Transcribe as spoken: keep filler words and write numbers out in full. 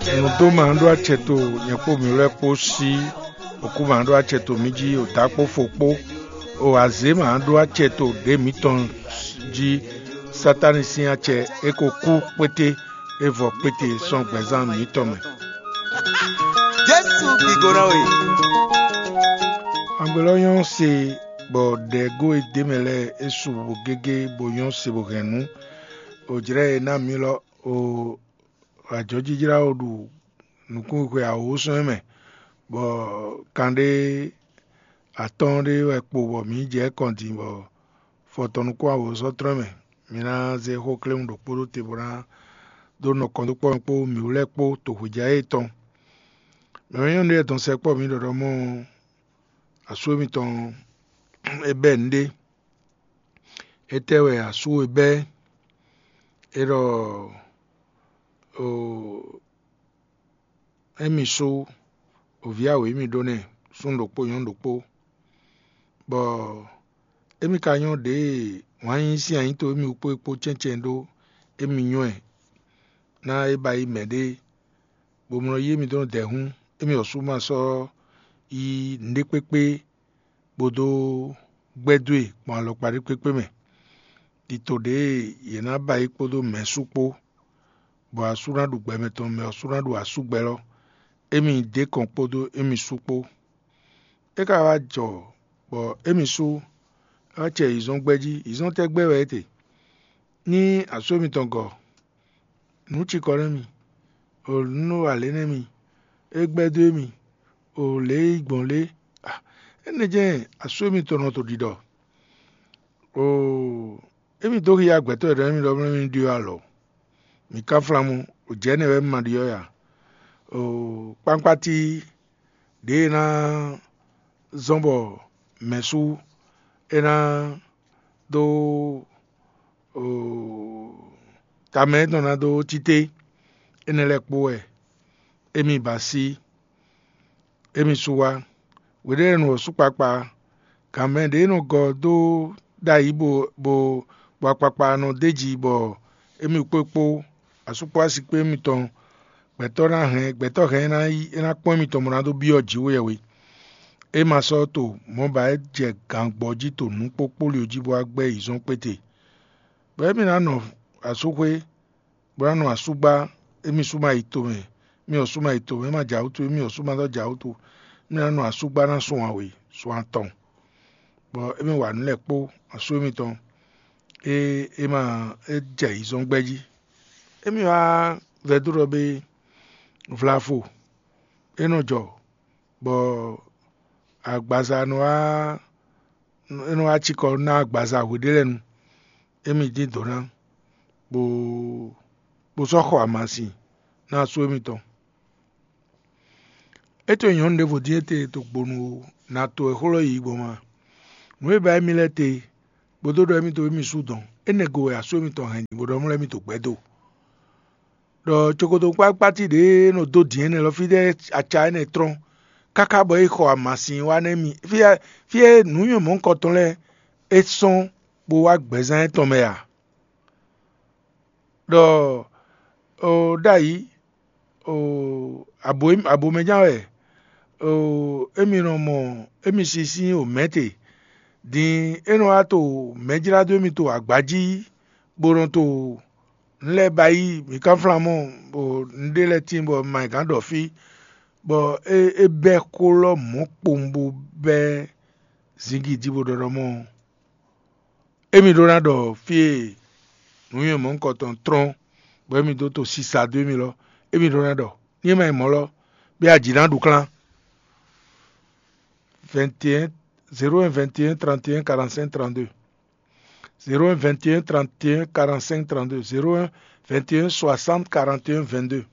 Nǔdó ma ɖó acɛ to nyɛ kpó mǐ lɛ́ɛ kpó sí òkú ma ɖó acɛ to mǐ jí, òdá kpó fo kpó. O azě ma ɖó acɛ to ɖě mǐtɔn jí. Satáni sín acɛ é ko kú kpété, é vɔ kpété sɔ́ gbɛzán mǐtɔn mɛ. Jésù gígó ná we. Agbe lɔ nyɔ́ se, bɔ ɖɛ̌gó e d'é mɛ lɛ́ɛ é su bo gégé bo nyɔ́ se bo hɛn nǔ. Ò jlɛ́ e ná mǐ lɔ o ajɔ̌jijlá o ɖu nǔkúnxwixwe awǒsɔ́n e mɛ, bɔ kanɖé atɔ́ɔ́n ɖé wɛ kpo bɔ mǐ jɛ kɔn din bɔ fɔtɔn nukún awǒsɔ́ tlɔ́n mɛ. Mi ná zé xó kléwún ɖokpó ɖó te bó ná dó nɔ kɔn dó kpɔ́ mɛ kpó mǐwú lɛ́ɛ kpó tohwejǎ e tɔn. Mɛ nyɔ́nu ɖé dɔn sɛkpɔ́ mǐ ɖɔɖɔ mɔ asú émítɔn é bɛ́ nǔɖé. Étɛ́ wɛ asú e bɛ́? É ɖɔ émí sú, òví awě émí ɖó nɛ́, súnnu ɖokpó nyɔ̌nu ɖokpó, bɔ émí ka nyɔ́ ɖěe wǎn yíyí sín anyǐto émí wú kpó é kpó cɛ́ncɛ́n ɖó émí nyɔ́ ɛ ná é ba yi mɛ ɖé, bó mlɔ yí émí dó nɔ dɛ̌ hǔn, émí ɔ́ sú ma sɔ́ yí nǔɖé kpékpé bó dó gbɛ́ dó e gbɔn alɔkpa ɖé kpékpé mɛ. Tito ɖěe yě ná ba yí kpódó mɛ̌ sú kpó, bɔ asú ná ɖu gbɛ mɛtɔn, mɛ ɔ́ sú ná ɖu asúgbɛ́ lɔ. Émí yi dó kɔn kpódó émí sú kpó. É ka wá jɔ bɔ émí sú é wá cɛ yǐzɔ́n gbɛ́ jí. Yǐzɔ́n tɛ́ gbɛ́ wɛ é te? Ní asú émítɔn gɔ, nǔ cikɔ nɛ́ mi, o nǔ wa lě nɛ́ mi, é gbɛ́ dó émí, o lě e yi gbɔn lě. Énɛ́ jɛ́n asú émítɔn nɔ to ɖiɖɔ. Oo, émí dó xia gbɛtɔ́ e ɖɔ émí ɖɔ mlɔ́ émí ɖyɔ́ alɔ. Mǐ ka flan mɔ, o jɛ̌ nɛ́ wɛ émí ma ɖyɔ́ ya. Oo, kpánkpáti ɖě e ná zɔ́n bɔ mɛ̌sú é ná dó tamɛ étɔn ná dó títí, énɛ́ lɛ́ɛ kpó wɛ émí ba sí, émí sú wá. Hweɖéenu ɔ́ sú kpakpa, gǎn mɛ ɖě nɔ gɔ dó ɖ'ayǐ bo bo bɔ akpakpa nɔ d'é jí bɔ émí kpó kpó asúkpó asi kpé émítɔn, gbɛtɔ́ ná hɛn gbɛtɔ́ hɛn é ná yi é ná kpɔ́n émítɔn bó ná dó byɔ́ jǐ wú yɛhwe. É ma sɔ́ to mɔ̌ ba é jɛ gǎngbɔ́ jí to nǔ kpókpóli jí bó wá gbɛ́ yi zɔ́n kpéte, bɔ émí ná nɔ asúxwé, bó ná nɔ asúgbá. Émí sú ma yi tomɛ, mí ɔ́ sú ma yi tomɛ, é ma jǎ wútu, émí ɔ́ sú ma dɔ́ jǎ wútu. Mí ná nɔ asúgbá ná sun awě sun atɔn, bɔ émí wa nǔ lɛ́ɛ kpó asú émítɔn, é é ma é jɛ yi zɔ́n gbɛ́ jí. Émí wá vɛdó ɖɔ bé vlafo é nɔ jɔ, bɔ agbaza nɔ wá é nɔ wá cikɔ ná agbaza hweɖé lɛ́ɛ nu. Émí dín dǒ ná, bó bó sɔ́ xɔ amasin ná asú émítɔn. É to nyɔ̌nu ɖěvo dín étɛ́ to gbonu ná to wɛ xó lɔ yí gbɔn ma. Nǔ e ba émí lɛ́ɛ te, bó dó ɖɔ émí to émí sú dɔn, énɛ́ go wɛ asú émítɔn hɛn bó ɖɔ mlɔ́ émí to gbɛ́ do. Ɖɔ cokoto kpákpáti ɖě e nɔ dó dǐn énɛ́ lɔ fí ɖɛ́ aca énɛ́ trɔ́n, káká bɔ é xɔ amasin wá nɛ́ mi. Fí e nǔnywɛ́ mɔ̌hunkɔtɔn lɛ́ɛ é sɔ́n bó wá gbɛzán étɔn mɛ a? Ɖɔ ɖ'ayǐ, abomɛ ján wɛ, émí nɔ mɔ émí si sín omɛ̌ te. Din é nɔ wá to mɛ̌ jlá dó émí to agba jí, bó nɔ to nǔ lɛ́ɛ ba yí mǐ ká flán mɔ, bɔ nǔɖé lɛ́ɛ tíin bɔ ma nyí gǎn ɖɔ fí, bɔ é é bɛ́ xó lɔ mɔ̌ kpowun bó bɛ́ zǐngídi bó ɖɔ ɖɔ mɔ émí ɖó ná ɖɔ fí e nǔnywɛ́ mɔ̌hunkɔtɔn trɔ́n, bɔ émí dó to sisa dó émí lɔ, émí ɖó ná ɖɔ ní é ma nyí mɔ̌ lɔ, bɛ́ aji ná ɖu klán. Vingt et un, zéro un, vingt et un, trente et un, quarante-cinq, trente-deux. Zéro un, vingt et un, trente et un, quarante-cinq, trente-deux. Zéro un, vingt et un, soixante, quarante et un, vingt-deux.